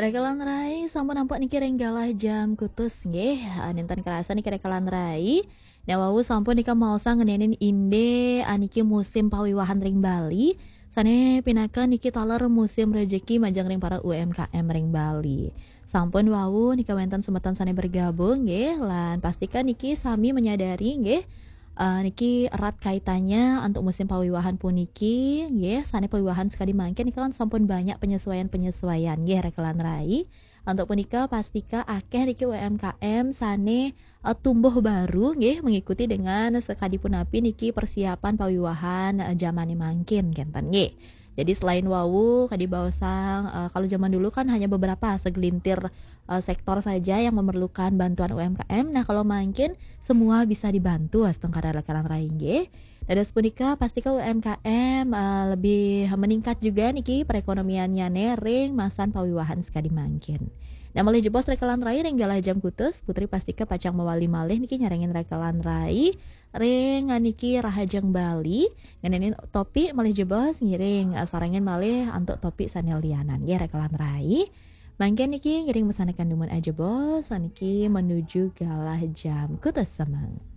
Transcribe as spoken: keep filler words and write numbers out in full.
Rekelan rai, sampun nampak niki ring galah jam kutus nggih. Ah, nénten kerasa niki rekelan rai. Nah, wau sampun nika maosan ngenénin indé, ah, niki musim pawiwahan ring Bali. Sané pinaka niki taler musim rejeki majeng ring para U M K M ring Bali. Sampun wau nika wénten semeton sané bergabung nggih, lan pastika niki sami menyadari nggih, eh, niki erat kaitannya untuk musim pawiwahan puniki nggih, sané pawiwahan sekadi mangkin nika kan sampun banyak penyesuaian-penyesuaian nggih rekelan rai. Untuk punika pastika akéh niki U M K M sané, eh, tumbuh baru nggih mengikuti dengan sekadi punapi niki persiapan pawiwahan, eh, jamané mangkin kénten nggih. Jadi selain wau kadi baosang, eh, kalau zaman dulu kan hanya beberapa segelintir, eh, sektor saja yang memerlukan bantuan U M K M. Nah, kalau mangkin semua bisa dibantu astungkara rekelan rai nggih. Dados punika pastika U M K M, eh, lebih meningkat juga niki perekonomiannyané ring masan pawiwahan sekadi mangkin. Nah, malih jebos rekelan rai ring galah jam kutus, Putri pastika pacang mawali malih niki nyarengin rekelan rai ring niki Rahajeng Bali, ngenénin topik malih jebos ngiring, eh, sarengin malih antuk topik sané lianan nggih rekelan rai. Mangkin niki ngiring masandekan dumun ajebos niki menuju galah jam kutus semeng.